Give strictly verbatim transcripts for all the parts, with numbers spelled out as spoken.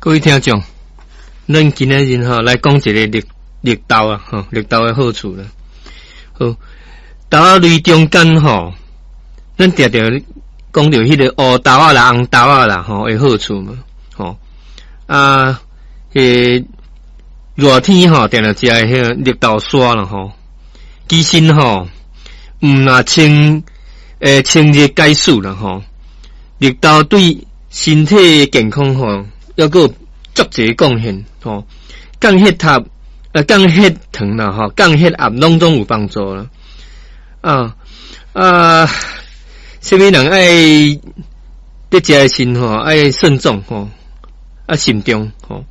各位聽眾，咱今仔日吼來講一个綠綠豆啊，吼綠豆的好處啦。好，豆仔類中間吼，咱定定講著彼个烏豆仔啦、紅豆仔啦，吼的好處嘛，吼啊，彼熱天吼，定定食的彼個綠豆沙啦，吼，其實吼，毋若清會清熱解暑啦，吼，綠豆對身體健康吼，猶閣有足濟貢獻，吼，降血壓、呃降血糖啦，吼，降血壓攏總有幫助啦。啊啊，啥物人愛佇食的時吼，愛慎重吼，啊慎重吼。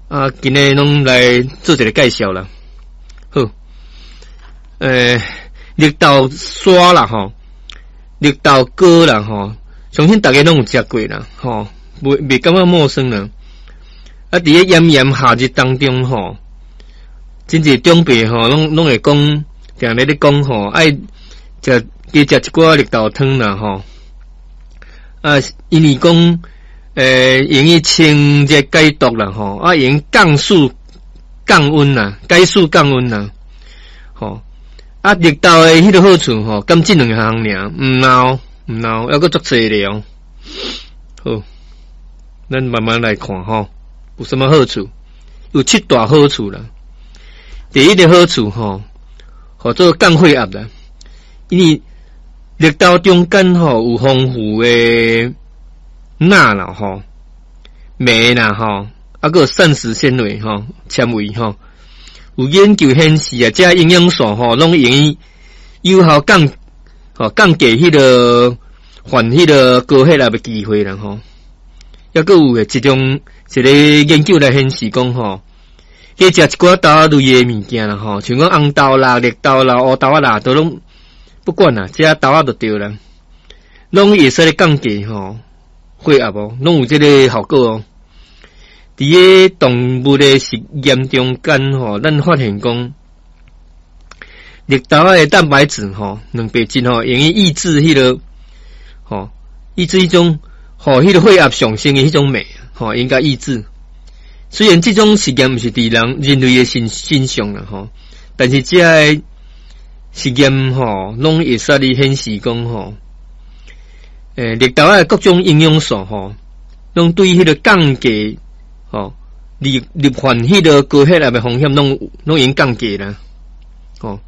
啊，今日攏來做一个介紹啦。好，欸，綠豆沙啦，吼，綠豆糕啦，吼，相信逐家攏有食過啦，吼，袂袂感覺陌生啦。啊，佇咧炎炎夏日當中吼，真濟長輩吼，攏攏會講，定咧咧講吼，愛食加食一寡綠豆湯啦，吼。啊，因為講，欸，用伊清熱解毒啦，吼，啊，用降暑降溫啦，解暑降溫啦，吼。啊，綠豆的彼个好處吼，敢這兩項爾，毋孬毋孬，猶閣足濟咧哦。好，咱慢慢來看吼，有啥物好處？有七大好處啦。第一个好處吼，號做降血壓啦，因為綠豆中間吼有豐富的鈉啦吼、鎂啦吼，啊閣有膳食纖維吼、纖維吼。有研究顯示啊，這營養素吼，攏用有效降吼降低彼个患彼个高血壓的機會啦吼。猶閣有的一種一个研究來顯示講吼，加食一寡豆仔類的物件啦吼，像講紅豆啦、綠豆啦、烏豆仔啦，都攏不管啦，這豆仔就對啦，攏會使咧降低吼血壓哦，攏有這个效果哦。佇咧動物的實驗中間吼，咱發現講綠豆仔的蛋白質吼，蛋白質吼，用於抑制彼个吼，抑制彼種吼，彼个血壓上升的彼種酶吼，應該抑制。雖然這種實驗毋是佇人人類的身身上啦吼，但是這个實驗吼，攏會使咧顯示講吼，欸，綠豆仔的各種營養素吼，攏對彼个降低吼，罹罹患彼个高血壓的風險，攏攏會降低啦，吼。